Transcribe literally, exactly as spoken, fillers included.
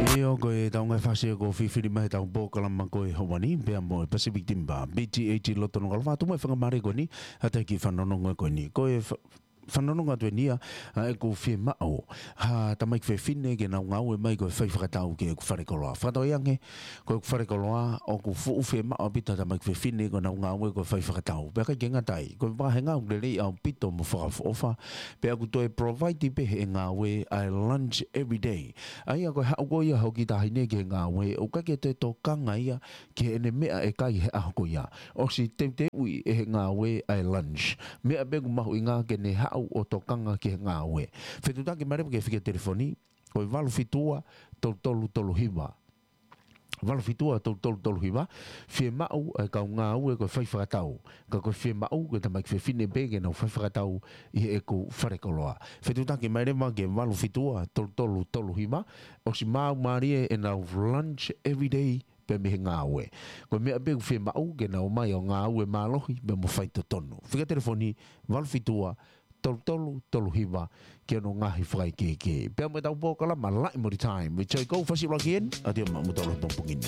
ʻIo, ko e tau ngaahi fasi ʻoku fifili mai he tau polokalama ko e ʻaho ni, pea mo e Pacific Timber, B T A T loto Nukuʻalofa, ʻoatu mai e faingamālie ko eni, ʻa e kiʻi fanongonongo ko eni. Ko e fa-, fanongonongo atu eni ia, ʻa ʻeku fiemaʻu ha tamaiki fefine ke nau ngāue mai ko e fai fakatau ki heʻeku fale koloa. Fakatauange, ko ʻeku fale koloa, ʻoku fuʻu fiemaʻu ʻaupito ha tamaiki fefine ke nau ngāue ko e fai fakatau. Pea ʻikai ke ngata ai, ko e vāhenga ʻoku lelei ʻaupito mo fakaʻofoʻofa, pea ʻoku toe provide pē ʻe he ngāue ʻa e lunch every day. ʻA ia ko e haʻu ko ia hoʻo kiʻi taʻahine ki he ngāue, ʻoku ʻikai ke toe tokanga ia ki heʻene meʻa ʻe kai he ʻaho ko ia. ʻOsi teuteuʻi ʻe he ngāue ʻa e lunch. Meʻa pē ʻoku mahuʻinga ke ne haʻu ʻo tokanga ki he ngāue. Fetuʻutaki mai leva ki he fika telefoni, ko e valu fitu ua, tolu tolu tolu hiva. Valu fitu ua, tolu tolu tolu hiva, fiemaʻu ʻa e kau ngāue ko e fai fakatau. Ka ko e fiemaʻu ko e tamaiki fefine pē ke nau fai fakatau ʻi heʻeku fale koloa. Fetuʻutaki mai leva ki he valu fitu ua, tolu tolu tolu hiva, ʻosi maau mālie ʻenau lunch every day pē mei he ngāue. Ko e meʻa pē ʻoku fiemaʻu ke nau ō mai ʻo ngāue mālohi pea mo faitotonu. Fika telefoni, valu fitu ua, tolu tolu tolu hiva, ki hono ngaahi fakaʻekeʻeke. Pea mo e tau polokalama Laʻi mo e Time. Mo Joy Ko, fasi ʻuluaki eni, ʻa ia maʻa mo tolo pongpongini.